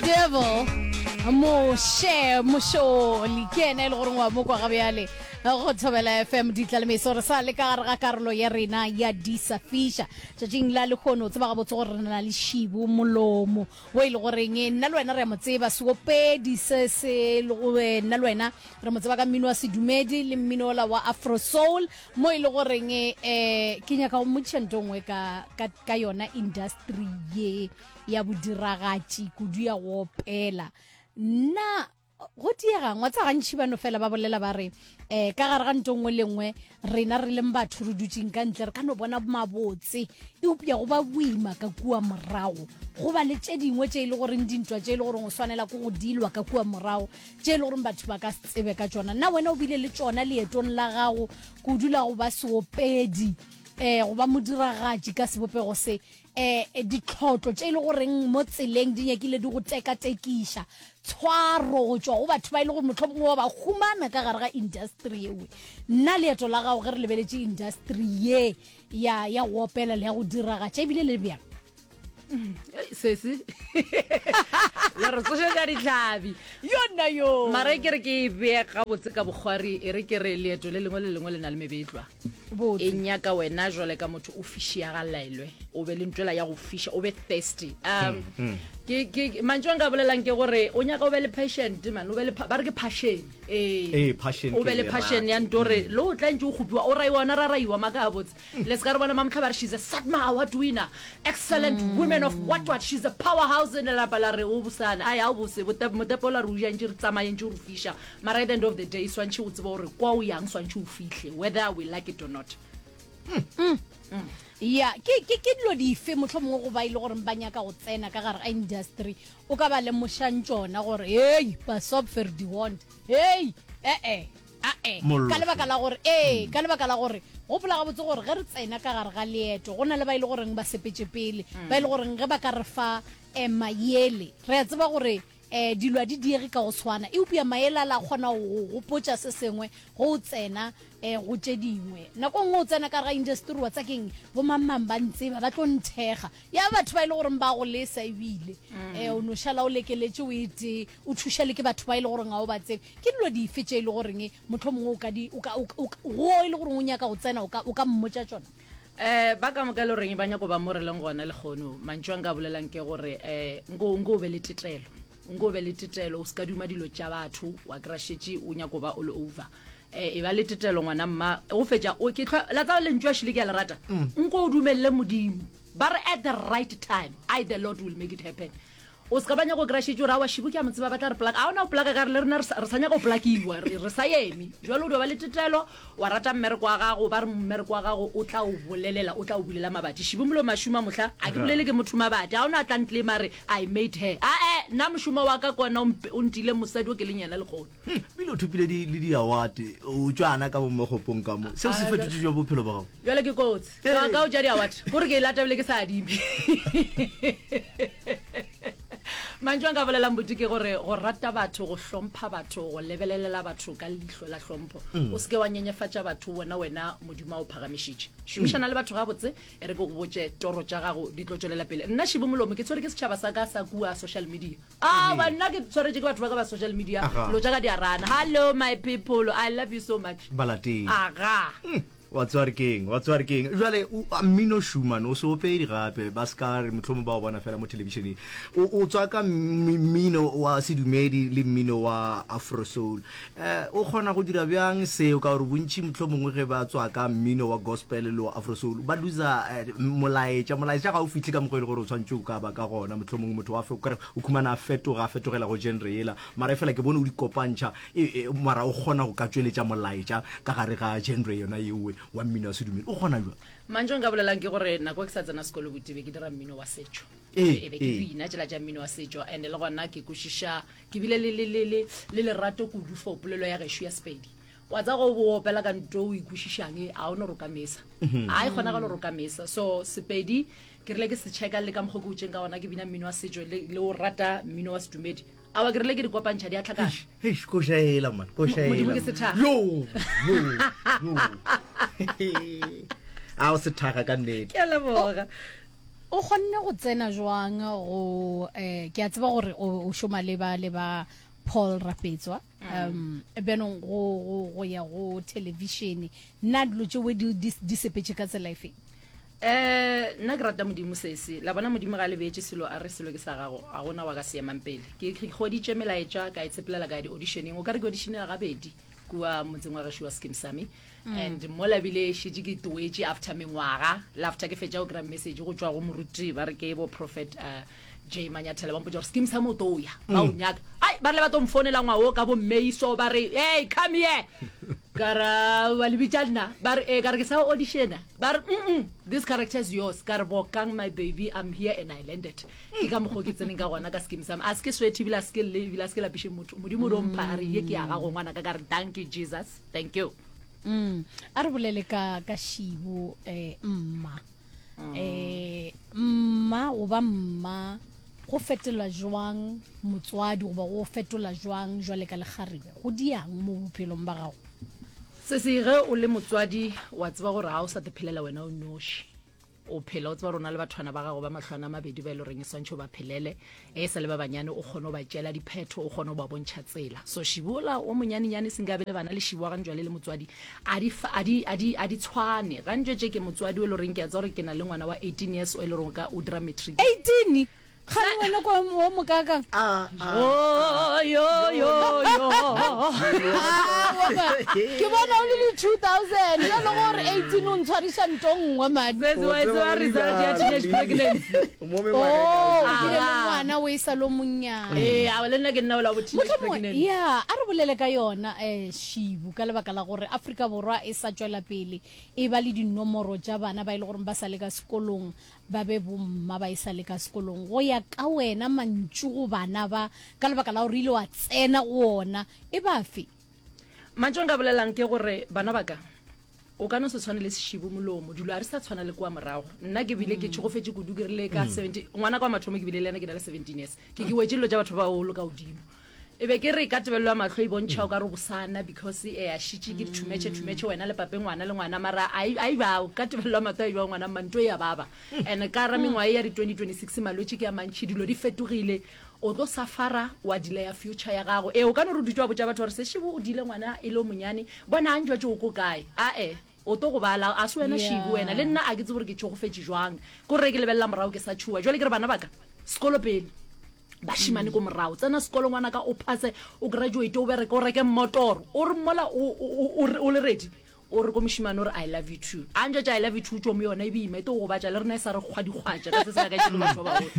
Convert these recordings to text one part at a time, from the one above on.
Devil Moshe Mosholi ke yena e le goreng wa mo kwa ga bjale go Thobela FM ditlalemeso re sa le ka gare ga karolo ya rena ya disa fiša tšatšing la lehono o tseba gabotse gore re na le Šibu Molomo wo e le goreng nna le wena re a mo tseba seopedi se se eh, nna le wena re mo tseba ka mmino wa sedumedi le mmino ola wa afro soul mo e le goreng um ke nyaka go mmotšiša nto nngwe ka, ka, ka yona industry ye ya bodiragatši kudu ya go opela nna go diegang wa tsa gantši ba no fela ba bolela ba re um ka gare ga nto nngwe le nngwe rena re leng batho re dutseng ka ntle re ka no bona mabotse eupša go ba boima ka kua morago go ba le tše dingwe tše e le goreng dintwa tše e le goreng o swanela ke go dilwa ka kua morago tše e le goreng batho ba ka se tsebe ka tšona na wena o bile le tšona leetong la gago kudu la go ba seopedi um go ba modiragatši ka sebopego se um ditlhotlo tše e le goreng mo tseleng di nyakile di go tekatekiša tshwaro go tšwa go batho ba e le gore mohlomongwe wa ba humana ka gare ga industry ewe nna leeto la gago ge re lebeletše industry ye ya ya go opela le ya go diragatša ebile le bjang sesi la re tsošetša ditlhabi yona yo mara e ke re ke e bee gabotse ka bokgwari e re ke re leeto le lengwe le lengwe le na le mebetlwa e nyaka wena jwale ka motho o fišiagalaelwe o be le ntwela ya go fiša o be thirsty um hmm, hmm. ke ke mantšu a nka bolelang ke gore o nyaka o be le patient man o be le ba re ke passion ee o be le passion ya nto re hmm. le o tla ntse o kgopiwa o raiwa ona ra raiwa maka gabotse le se ka re bona mamotlha ba re she's a satma award winner excellent women of what what she's a powerhouse in lelapa la re o bosana ai a o bose motepo la re o ja ntse re tsamaye ntse o re fiša Mara at the end of the day swantšhe o tsebe gore kwa o yang swantšhe o fihle whether we like it or not. Mm. Mm. Ya, ke ke ke dilo dife mohlomongwe go ba ile e gore ba nyaka go tsena ka gare ga industry o ka ba lemošang tšona gore hey pasop vir die hond hey eh eh ae ka lebaka la gore ee mm. ka lebaka la gore gopola gabotse gore ge re tsena ka gare ga leeto go na le ba e le goreng ba sepetse pele ba e le goreng ge ba ka re fa eh, mayele re a tseba gore E, dilo a di diege ka go swana, eupša maele a la kgona go go gopotša se sengwe ge o tsena e, go tše dingwe. Nako nngwe o tsena ka gare ga industry wa tsa keng, bomangmang ba ntseba, ba tlo nthekga. Ya batho ba e le goreng ba go lesa ebile e, o no šala o lekeletše o e tee, o thuša le ke batho ba e le goreng ga o ba tsebe. Ke dilo dife tše e le goreng mohlomongwe o ka di, o ka, o, o, go e le goreng o nyaka go tsena o ka, o ka mmotša tšona? Eh, ba ka moka e le goreng ba nyako ba mo re leng gona lekgono, mantšu a nka bolelang ke gore eh, nko, nko o be le tetelo, nko o be le tetelo, o se ka duma dilo tša batho, wa kry-a šetše o nyako ba all over. Eh, e ba le tetelo ngwana mma, go fetša o ke hlwa, la tseba lentšu a šile ke a le rata, nko o dumelele Modimo, ba re at the right time, I the Lord will make it happen. O se ka ba nyaka go kry-a šetše o re aowa Šibu ke a mo tseba ba tla re plaka. A ona o plaka ka re le rena re sa nyaka go plakiwa, re sa eme. Jwale o dio ba le tetelo, wa rata mmereko wa gago, ba re mmereko wa gago o tla o bolelela, o tla o bulela mabati. Šibu Molomo a šoma mohla, a ke bolele ke motho mabati, a ona a tla nclaima a re I made her. Ae, nna mošomo wa ka ke ona o ntile mosadi o ke leng yena lekgono. Ebile o thopile le di-award, o tšwana ka mo mogopong ka mo. Seo se fetotše bjang bophelo bja gago? Bjale ke kotsi. Ka ka o tša di-award, kore ke e lata ebile ke sa adime. Mantšu a nka bolelang buti ke gore go rata batho, go hlompha batho, go lebelelela batho ka leihlo la hlompho. O se ke wa nyenyefatša batho, bona wena Modimo a o phagamišitše. Šomišana le batho gabotse, e re ke go botše toro tša gago di tlo tšwelela pele. Nna Šibu Molomo ke tshwere ke setšhaba sa ka sa kua social media. Aowa nna ke tshwaretše ke batho ba ka ba social media, dilo tša ka di a rana. Hello my people, I love you so much. Balatedi. Aga. Wa tseba re keng? Wa tseba re keng? Jwale, o, a, mmino Schumann, o se opedi gape, ba se ka re mohlomong ba o bona fela mo thelebišeneng. O, o tswaka mmino wa sedumedi le mmino wa Afro Soul. Eh, o kgona go dira bjang seo? Ka gore bontši mohlomongwe ge ba tswaka mmino wa gospel le wa Afro Soul, ba loser eh, molaetša. Molaetša ga o fihle ka mokgwa e le gore o tshwanetše o ka ba ka gona. Mohlomongwe motho wa fe, o ka re o khumana a fetoga, a fetogela go genre yela. Mara efela ke bone o di kopantšha. E, e, mara o kgona go ka tšweletša molaetša ka gare ga genre yona yeowe wa mmino wa sedumedi. O kgona bjang? Mantšu a nka bolelang ke gore nako e ke sa tsena sekolo buti be ke dira mmino wa setšo. E, e be ke bina tšela tša mmino wa setšo and le gona ke kwešiša ke bile le, le, le, le, le lerato kudu for polelo ya gešo ya Sepedi. Wa tseba go bo opela ka nto o e kwešišang a o no roka mesa. A e kgonagalo roka mesa. So Sepedi ke rile ke se checka le ka mokgwa ke utšeng ka gona ke bina mmino wa setšo le, le o rata mmino wa sedumedi. Aowa ke rile ke di kopantšha di a tlhakana. Eish, koša ela man, koša ela. Modimo ke sethakga. Yo, yo, yo. A o sethakga ka nnete. Ke a leboga. O kgonne go tsena jwang go eh, ke a tseba gore o, o šoma le ba le ba Paul Rapetswa um bjanong go, go, go ya go thelebišene na dilo tšeo di, di, di sepetše ka tsela efe? Eh, nna ke rata Modimo sesi. La bona Modimo ga a le beetše selo a re selo ke sa gago, ga gona wa ka se emang pele. Ke ke hweditše melaetša ka e tshepelela ka ya di-auditioneng. O ka re ke auditionela gabedi kua motseng wa gešo wa Skeem Saam. And mola bile šetše ke toetše after mengwaga, le after ke fetša go kry-a message go tšwa go moruti ba re ke bo Prophet uh, J Manyathela ba mpotša gore Skeem Saam o tlo ya, ba o nyaka. Ai, ba rile ba tlo mfounela ngwaga wo ka bo May so ba re, hey, come here. Ka ra ba le bitša nna, ba re ee, ka re ke sa auditiona, ba re mm this character is yours, ka re bokang my baby, I'm here and I landed. Ke ka mokgwa o ke tseneng ka gona ka Skeem Saam. A se ke sweat ebile a se ke lle ebile a se ke lapiše motho. Modimo o do mpha a re ye ke ya gago ngwanaka, ka re dankie Jesus, thank you. Mm. A re bolele ka ka Shibo eh mma. Eh mma goba mma go fetola jwang motswadi goba go fetola jwang jwale ka lekgarebe go diang mo bophelong ba gago? Sesi, ge o le motswadi wa tseba gore ga o sa te phelela wena o noši. O phela o tseba gore o na le bathwana ba gago ba mahlwana a mabedi ba e le goreng e swantšhe o ba phelele e sa le ba banyane o kgone go ba tšeela diphetho o kgone go ba bontšha tsela. So Šibola o monyanenyane senke a be le bana le Šiboa gantšwale le motswadi a di a di a di a di tshwane. Gantšwe tše ke motswadi o e le goreng ke a tseba gore ke na le ngwana wa 18 years o e le goreng o ka o dira matric. 18? Kgane wena kwa o mokakang? Oh, yo, yo, yo. Ke bona o le di 2000 bjalo gore 18 o ntshwariša nto nngwe man. Sesi wa e tseba result ya teenage pregnancy. Oh, o bile le ngwana o e sa le o monnyane. Ee, a le nna ke nna ola bo teenage pregnancy. Ya, a re bolele ka yona eh Shibu ka lebaka la gore Afrika Borwa e sa tšwela pele e ba le dinomoro tša bana ba e le gore ba sa le ka sekolong ba be bomma ba e sa le ka sekolong. Go ya ka wena, mantšu go bana ba, ka lebaka la gore o ile wa tsena go ona, e ba afe? Mantšu a nka bolelang ke gore, bana ba ka, o ka no se tshwane le sešebo molomo, dilo ga di sa tshwana le kua morago. Nna ke bile ke tšhogofetše kudu, ke rile ka 17, ngwanaka wa mathomo ke bile le yena ke na le 17 years, ke ke wetše dilo tša batho ba bagolo ka godimo. E be ke re ka tebelelo ya mahlo e bontšha o ka re o bosana because e a šitše ke dithumetšhe thumetšhe wena le pape ngwana le ngwana mara a e bao ka tebelelo ya mahlo a e bao ngwana mma nto e ya baba and ka ra mengwaga e ya di 2026 malwetši ke a mantši dilo di fetogile o tlo safara wa delaya future ya gago ee o ka no re o dutše wa botša batho gore sešebo o dile ngwana e le o monyane bona a njwetše o ko kae ae o tlo go bala a se wena šibu wena le nna a ke tsebe gore ke tšhogofetše jwang ko re ke lebelela morago ke sa tšhuwa jwale ke re bana baka sekolo pele Bašemane ko morago, tsena sekolo ngwanaka o phase, o graduate, o bereke, o reke mmotoro. O re mola o, o, o, o le ready, o re ko mošemane o re I love you too. A ntšwa tša I love you too tšo mo yona e boima, e tlo go gobatša le rena e sa re kgwadikgwatša ka se se ka tšelo batho ba bagolo.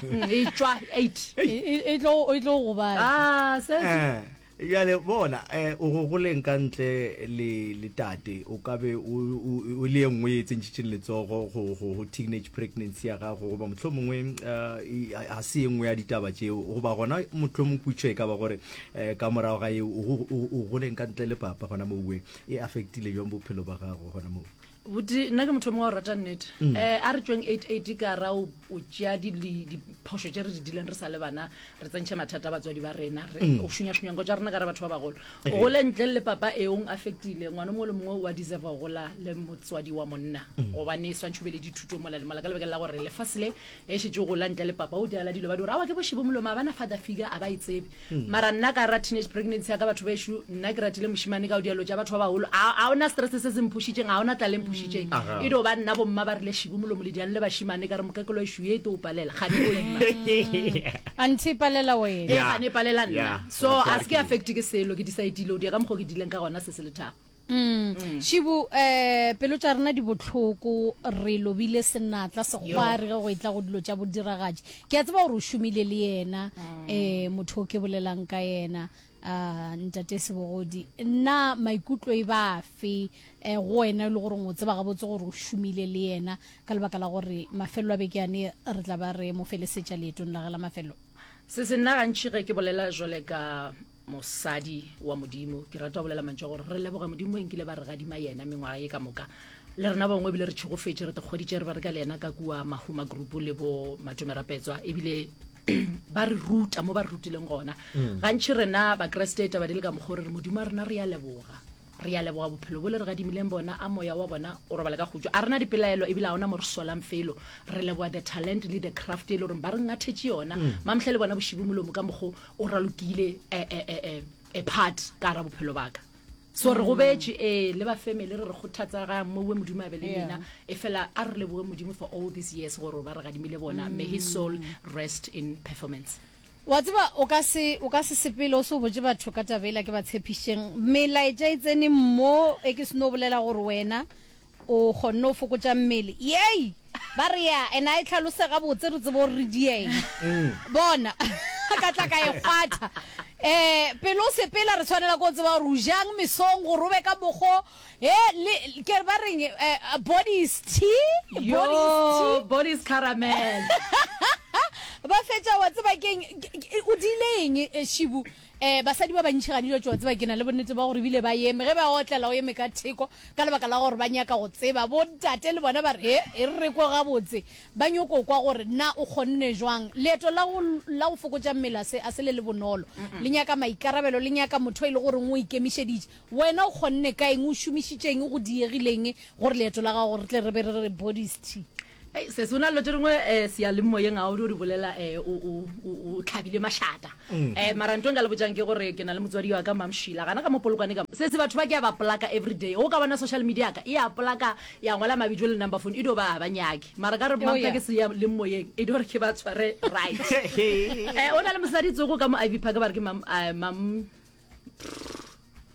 Mm, e tšwa eight. E, e, e tlo e tlo gobatša. Ah, se se. Eh. Bjale bona, eh, o go goleng ka ntle le, le tate, o ka be o, o, o le ye nngwe ye e tsentšitšeng letsogo go, go, go teenage pregnancy ya gago, goba mohlomongwe eh, ga se ye nngwe ya ditaba tšeo, goba gona mohlomong putšo e ka ba gore eh, ka morago ga yeo o, o, o goleng ka ntle le papa gona moo, e affectile jwang bophelo ba gago gona moo? Buti, nna ke motho mongwe wa go rata nnete. Um a re tšweng 88 ka ra o tšea diphošo tše re di dileng re sa le bana, re tsentšhe mathata a batswadi ba rena, re o šunyašunya nko tša rena ka re batho ba bagolo. O gole ntle le papa e ong affectile, ngwana mongwe le mongwe wa deserve go gola le motswadi wa monna, gobane swantšhe o be le dithuto mola le mola ka lebaka la gore lefase le e šetše o gola ntle le papa o diala dilo ba di gore awa ke bošebo molomo a bana father figure a ba e tsebe. Mara nna ka ra teenage pregnancy ya ka batho bešo, nna ke ratile mošemane ka o dialo tša batho ba bagolo, a a ona stress se se mphušitšeng, a ona tlala e mphušitšeng. E dio ba nna bomma ba rile šibu molomo le diang le bašemane, ka re mokekelo ešo ye e tlo o palela, gane o ima. Anthe e palela wena. Ee, gane e palela nna. So a se ke affect ke selo, ke decide-ile o dia ka mokgwa o ke dileng ka gona se se lethabo. Mm. Šibu, eh, pelo tša rena di bohloko, re lobile senatla sekgwari ge go etla go dilo tša bodiragatši. Ke a tseba gore o šomile le yena, eh, motho o ke bolelang ka yena, ah, ntate Sebogodi. Na maikutlo e ba afe eh, go wena e le gore o tseba gabotse gore o šomile le yena ka lebaka la gore mafelelo a beke ane re tla ba re mo felesetša leetong la ge la mafelelo? Se se nna gantši ge ke bolela jwale ka Mosadi wa Modimo, ke rata go bolela mantšu a gore re leboga Modimo e nkile ba re gadima yena mengwaga ye ka moka. Le rena bangwe ebile re tšhegofetše, re tekgwaditše re bereka le yena ka kua Mahuma Group le bo Matome Rapetswa, ebile ba re ruta mo ba re rutileng gona. Gantši rena Bakriste taba di le ka mokgwa o re re Modimo wa rena re a leboga. Re ya leboga bophelo bo le re gadimileng bona, a moya wa bona o robale ka khutšo. A re na dipelaelo ebile ga ona mo re solang felo. Re leboga the talent le the craft e le goreng ba re ngathetše yona. Mamhle le bona bošibu molomo ka mokgo o ralokile a, a, a, a, a part ka gara bophelo ba ka. So re gobetše, ee, le ba family re re kgothatsa ga mowe Modimo a be le lena. Efela a re leboge Modimo for all these years gore ba re gadimile bona. May his soul rest in performance. Wa tseba, o ka se, o ka se sepele o se o botše batho ka taba yela ke ba tshepišitšeng. Melaetša e tsene mo e ke seno bolela gore wena o kgonne go fokotša mmele. Yei! Ba re ya, and a e hlalose gabotse re tsebe gore re dieng. Bona, ka tla ka e kgwatha. Um pele o sepela re tshwanela ke go tseba gore o jang mesong gore o be ka mokgo He, le, ke re ba reng, eh, body is tea, body is tea. Yo, body is caramel. Ba fetša, wa tseba keng, o diile eng, eh, Šibu? Eh, basadi ba bantši gane jwatše, wa tseba, ke na le bonnete ba gore ebile ba eme, ge ba otlela o eme ka theko, ka lebaka la gore ba nyaka go tseba. Bo ntate le bona ba re, he, e re re kwe gabotse. Ba nyoko kwa gore na o kgonne jwang. Leeto la go, la go fokotša mmele a se, a se le le bonolo. Le nyaka maikarabelo, le nyaka motho e le goreng o ikemišeditše. Wena o kgonne ka eng, o šomišitše eng, go diegile eng gore leeto la gago re tle re be re re bodies tea? Hei sesi, o na le dilo tše dingwe um seyalemoyeng ga o dio di bolela um o, o, o, o tlhabile mašata. Um mara ntho e nka le botšang ke gore ke na le motswadi wa ka Mamshila gana ka mo Polokwane ka mo. Sesi batho ba ke a ba plaka everyday, ge o ka bona social media ya ka e a plaka ya ngwala mabitso le number phone e dio ba ga ba nyake. Mara ka re Oh mamhla yeah. ke seyalemoyeng e dio re ke ba tshware right. Um o na le mosadi tsoko ka mo Ivy Park ba re ke mam, uh, mam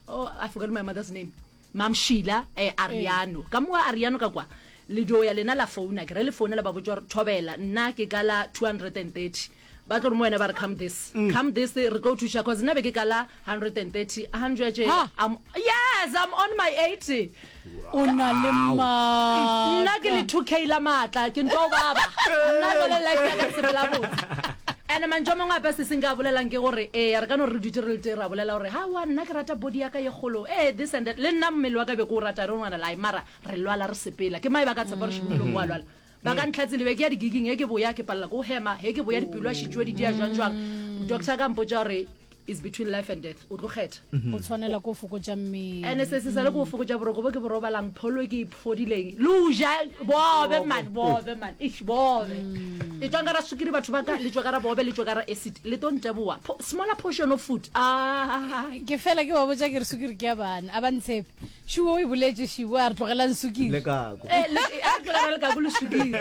oh i forgot my mother's name mam sheila eh, ariano ka moa ariano ka kwa le dio ya lena la founa ke re le founa le ba botsa gore thobela nna ke ka la 230 ba tlo re mo wena ba re come this mm. come this re tlo thuša cause nna be ke ka la 130 100 Ha. I'm, yes i'm on my 80 O na le maatla. Nna ke le 2K la maatla, ke ntwa o baba. Nna jwale life ya ka e sepela botse. And mantšu a mangwe ape se se nka a bolelang ke gore ee re ka no re dutše re le tee ra bolela gore hawa nna ke rata body ya ka ye kgolo ee this and that le nna mmele wa ka be ke o rata I don't wanna lie mara re lwala re sepela ke mae ba ka tshepa gore Šibumolomo wa lwala ba ka ntlhatsile be ke ya di-gigging he ke boya ke palela ke go hema he ke boya dipelo a šitšwe di dia jwang jwang doctor ka mpotša gore is between life and death o tlo kgetha O tshwanela ko fokotša mmele. Ene se se sale ko fokotša boroko bo ke bo robalang pholo e ke e phodileng le o ja bobe man bobe man eish bobe le tšwang ka ra sukiri batho ba ka le tšwa ka ra bobe le tšwa ka ra acid le to nteboa smaller portion of food ah Ke fela ke ba botša ke re sukiri ke ya bana a ba ntshepe. Šibo o e boletše Šibo a re tlogelang sukiri. Le kako. Eh, le, a re tlogela lekako le sukiri.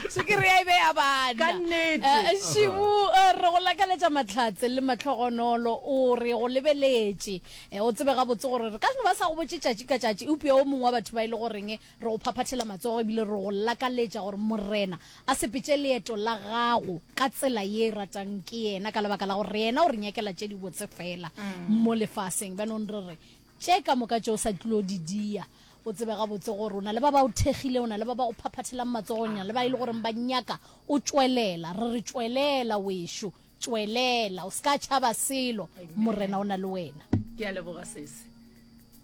Sukiri ya e be ya bana. Ka nnete. Eh, Šibo eh, re go lakaletša mahlatse le mahlogonolo o re go lebeletše. Eh, o tsebe gabotse gore re ka no ba sa go botše tšatši ka tšatši eupša o mongwe wa batho ba e le goreng re go phaphathela matsogo ebile re go lakaletša gore Morena a sepetše leeto la gago ka tsela ye e ratang ke yena ka lebaka la gore yena o re nyakela tše dibotse fela mo lefaseng. Bjanong re re, tše ka moka tše o sa tlilo di dia, o tsebe gabotse gore o na le ba ba o thekgile, o na le ba ba go phaphathelang matsogo, o na le ba e le goreng ba nyaka o tšwelela. Re re tšwelela wešo, tšwelela, o se ka tšhaba selo, Morena o na le wena. Ke a leboga sesi.